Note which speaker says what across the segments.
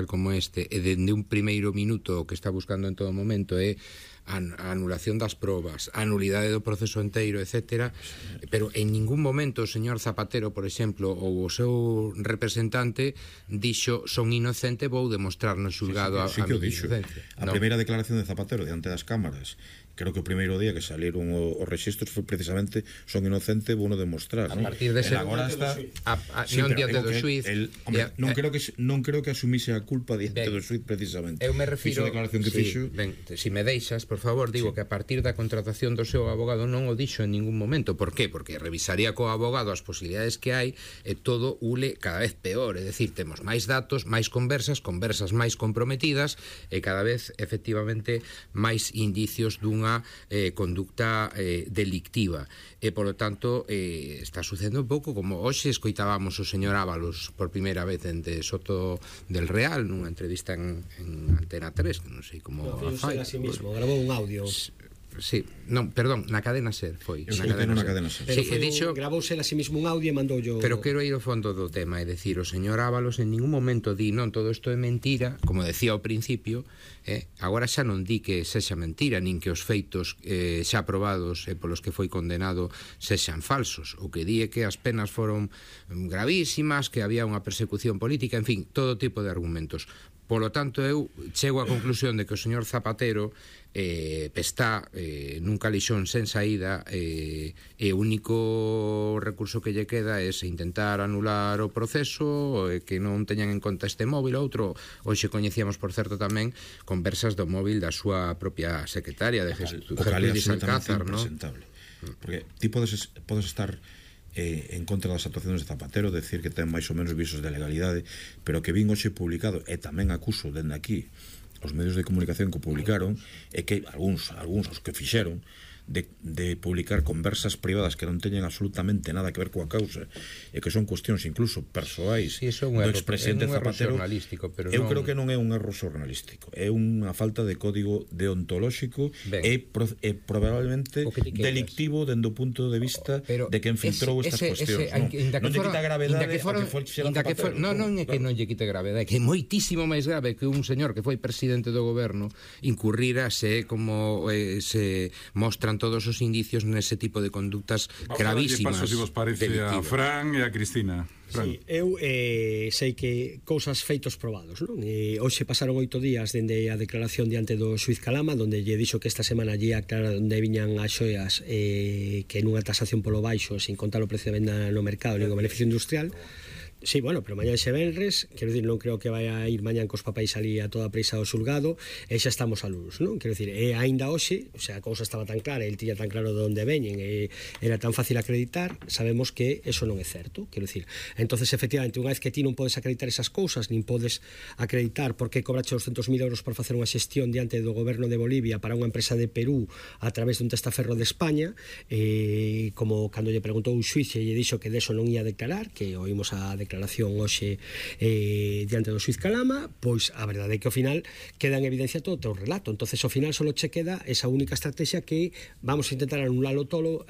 Speaker 1: como este, e dende un primeiro minuto o que está buscando en todo momento é a anulación das probas, a nulidade do proceso enteiro, etc. Pero en ningún momento o señor Zapatero, por exemplo, ou o seu representante dixo son inocente, vou demostrar no xulgado a miña inocencia.
Speaker 2: A primeira declaración de Zapatero diante das cámaras, creo que o primeiro día que salieron os registros foi precisamente son inocente, vou no demostrar.
Speaker 1: A partir de ese
Speaker 2: agora está
Speaker 1: non diante do xuiz.
Speaker 2: Non creo que asumise a culpa diante do xuiz precisamente.
Speaker 1: Eu me refiro,
Speaker 2: declaración que fixo.
Speaker 1: Si me deixas, por favor, digo que a partir da contratación do seu abogado non o dixo en ningún momento. Por qué? Porque revisaría co abogado as posibilidades que hai e todo ule cada vez peor, é dicir, temos máis datos, máis conversas máis comprometidas e cada vez efectivamente máis indicios dunha conducta delictiva e polo tanto está sucedendo un pouco como hoxe escoitábamos o señor Ábalos por primeira vez ente Soto del Real nunha entrevista en Antena 3, que non sei como
Speaker 3: a sí mismo, grabou un audio.
Speaker 1: Sí, non, perdón, na cadena SER foi.
Speaker 2: Na cadena SER.
Speaker 1: Sí,
Speaker 3: gravouse a sí mismo un audio e mandou yo.
Speaker 1: Pero quero ir ao fondo do tema, é dicir, o señor Ábalos en ningún momento di, non, todo isto é mentira, como decía ao principio, agora xa non di que sexa mentira, nin que os feitos xa aprobados e polos que foi condenado sexan falsos. O que di é que as penas foron gravísimas, que había unha persecución política, en fin, todo tipo de argumentos. Polo tanto, eu chego á conclusión de que o señor Zapatero está nun calixón sen saída e o único recurso que lle queda é intentar anular o proceso e que non teñan en conta este móvil. Outro, hoxe coñecíamos, por certo, tamén conversas do móvil da súa propia secretaria de Jesús Alcázar, non?
Speaker 2: Porque ti podes estar en contra das actuacións de Zapatero, decir que ten máis ou menos visos de legalidade, pero que vin hoxe publicado, e tamén acuso dende aquí os medios de comunicación que o publicaron, e que algúns os que fixeron de publicar conversas privadas que non teñen absolutamente nada que ver coa causa e que son cuestións incluso persoais do expresidente Zapatero. Eu creo que non é un erro xornalístico, é unha falta de código deontolóxico e probablemente delictivo dende o punto de vista de quen filtrou estas cuestións. Non lle quita gravedade a que foi Zapatero.
Speaker 1: Non é que non lle quite gravedade, que é moitísimo máis grave que un señor que foi presidente do goberno incurrira como se mostran todos os indicios nese tipo de conductas gravísimas.
Speaker 4: Paso, se vos parece, a Fran e a Cristina.
Speaker 3: Sí, eu sei que cousas feitos probados, non? Hoxe pasaron 8 días dende a declaración diante do xuiz Calama, donde lle dixo que esta semana lle aclara onde viñan as xoias que nunha tasación polo baixo, sin contar o precio de venda no mercado nin o beneficio industrial. Sí, bueno, pero mañá ese venres, quero dicir, non creo que vai a ir mañán cos papéis ali a toda prisa ao xulgado, e xa estamos a luz, non? Quero dicir, aínda hoxe, o sea, a cousa estaba tan clara, el tiña tan claro de onde veñen, era tan fácil acreditar, sabemos que eso non é certo, quero dicir. Entonces, efectivamente, unha vez que ti non podes acreditar esas cousas, nin podes acreditar por que cobrache 200.000 euros por facer unha xestión diante do goberno de Bolivia para unha empresa de Perú a través dun testaferro de España, como cando lle preguntou o xuiz e lle dixo que deso non ia declarar, que oímos a declaración hoxe diante do xuiz Calama, pois a verdade é que ao final queda en evidencia todo o teu relato. Entonces ao final só che queda esa única estrategia que vamos a intentar anularlo todo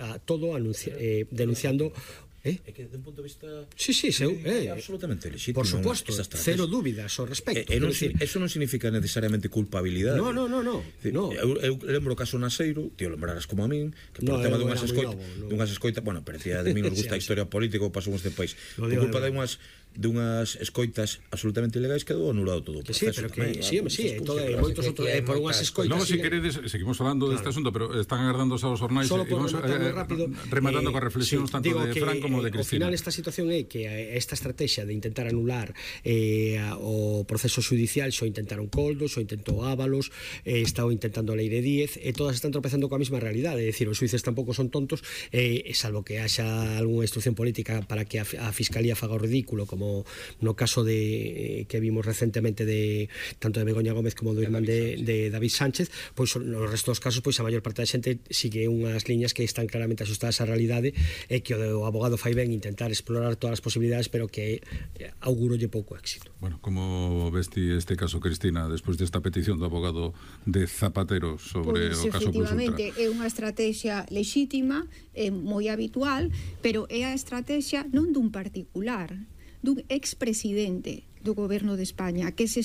Speaker 3: denunciando
Speaker 2: É que, de un punto de vista...
Speaker 3: Sí,
Speaker 2: absolutamente legítimo.
Speaker 3: Por suposto, cero dúbidas ao respecto.
Speaker 2: Eso non significa necesariamente culpabilidade.
Speaker 3: No.
Speaker 2: Eu lembro o caso Naseiro, ti o lembrarás como a min, que por tema dunhas escoitas, bueno, parecía de mí nos gusta a historia política ou pasou neste país. Por culpa dunhas escoitas absolutamente ilegais quedou anulado todo o proceso.
Speaker 3: Sí, pero que moitos outros por unhas escoitas.
Speaker 4: Non, se queredes, seguimos falando deste asunto, pero están agardando aos jornais e vamos rematando coas reflexións tanto de Fran como de Cristina.
Speaker 3: Ao final esta situación é que esta estrategia de intentar anular o proceso judicial xo intentaron Coldo, xo intentou Ábalos, está intentando a Leire Díez, e todas están tropezando coa mesma realidade, é dicir, os xuíces tampouco son tontos, salvo que haxa algunha instrucción política para que a Fiscalía faga o ridículo, como no caso que vimos recentemente tanto de Begoña Gómez como do irmán de David Sánchez, pois no resto dos casos pois a maior parte da xente sigue unhas liñas que están claramente asustadas á realidade e que o abogado fai ben intentar explorar todas as posibilidades, pero que augurolle pouco éxito.
Speaker 4: Bueno, como vesti este caso, Cristina, despois desta petición do abogado de Zapatero sobre o caso Plus Ultra?
Speaker 5: Efectivamente, é unha estrategia lexítima, moi habitual, pero é a estrategia non dun particular, dun expresidente do goberno de España, que se